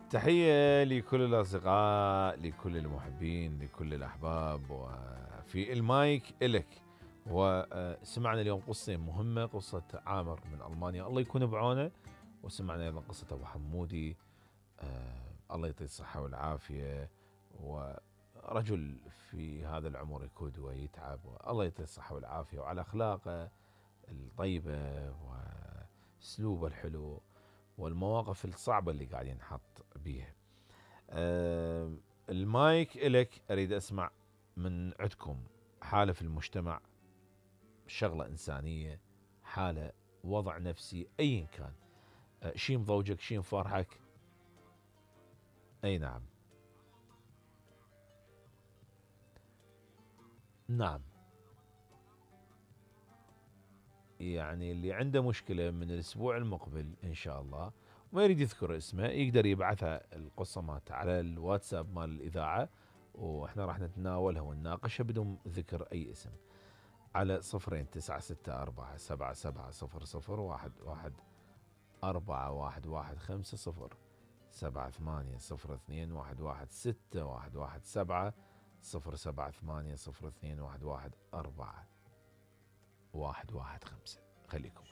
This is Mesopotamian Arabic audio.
تحية لكل الأصدقاء، لكل المحبين، لكل الأحباب، وفي المايك إلك. وسمعنا اليوم قصة مهمة، قصة عامر من ألمانيا، الله يكون بعونه. وسمعنا أيضا قصة أبو حمودي، الله يعطيه الصحة والعافية. ورجل في هذا العمر يكود ويتعب، الله يعطيه الصحة والعافية، وعلى أخلاقه الطيبة وأسلوبه الحلو والمواقف الصعبة اللي قاعد ينحط بيها. المايك إلك. أريد أسمع من عندكم حالة في المجتمع، شغلة إنسانية، حالة، وضع نفسي، أي كان، شيء مضوجك، شيء مفرحك. أي نعم. نعم. يعني اللي عنده مشكلة من الأسبوع المقبل إن شاء الله وما يريد يذكر اسمه، يقدر يبعثها القصة مالته على الواتساب مال الإذاعة، وإحنا راح نتناولها ونناقشها بدون ذكر أي اسم، على 0 2 9 6 4 7 7 0 0 1 1 7 0 7 8 0 2 1 1 4 1 1 5. خليكم.